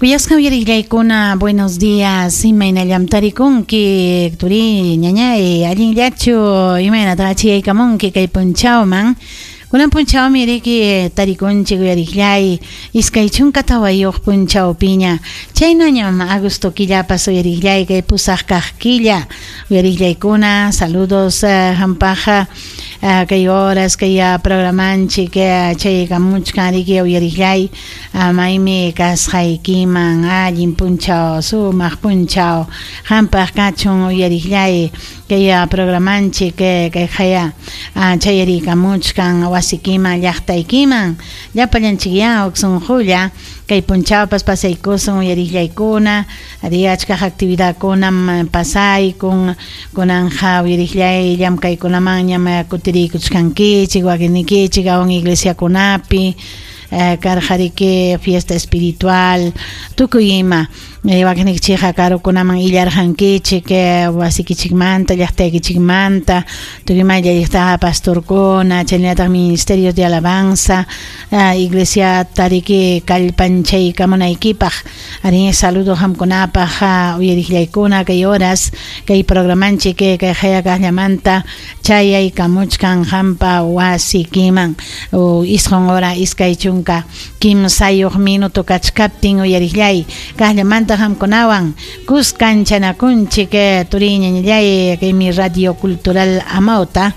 Kuyasqa uyariqllaykuna, buenos días. Imaynallam tarikunki, turi, ñañay, allinllachu? Imaynataq achiyaykamunki kay punchawman? Kunan punchawmi riki tarikunchik uyariqllay, 24 punchawpiña. Chaynañam agosto killapas uyariqllay, kay pusaq kaq killa. Uyariqllaykuna, saludos hampaqqa kay horas kay programanchik chayaykamuchkan riki uyariqllay. Maymi kasqaykiman allin punchaw, sumaq punchaw qampaq kachun uyariqllay, kay programanchik kay qaya chayariykamuchkan wasikiman, llaqtaykiman. Llapallanchikyá huk sunqulla kay punchawpas pasaykusun uyariqllaykuna, ari achkaq actividadkunam pasaykun, kunanqa uyariqllay llamkaykunamanñam kutiriykuchkankichik, wakinnikichik awan iglesiakunapi karqa riki fiesta espiritual, tukuy ima. Wakinnikichikqa karukunaman illarqankichik wasikichikmanta, llaqtaykichikmanta, tukuy ima illalliqtaqa pastorkuna, chaynallataq ministerios de alabanza, iglesiata riki kallpanchaykamunaykipaq. Ari saludo qamkunapaq uyariqllaykuna kay horas kay programanchik kay qaya kaqllamanta chayaykamuchkan qampa wasikiman. 9 hora 23 minuto kachkaptin uyariqllay kaqllamanta qamkunawan kuskanchanakunchik turi ñañallay kaymi Radio Cultural Amauta.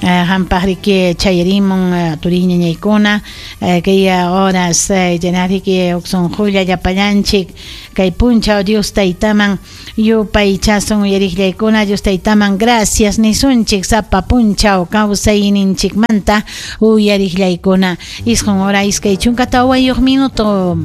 Qampaq riki chayarimun turi ñañaykuna kay horas chanariki huk sunqulla llapallanchik kay punchaw Dios Taytaman yupaychasun uyariqllaykuna, Dios Taytaman gracias nisunchik sapa punchaw kawsayninchikmanta uyariqllaykuna. 9 hora 24 minuto.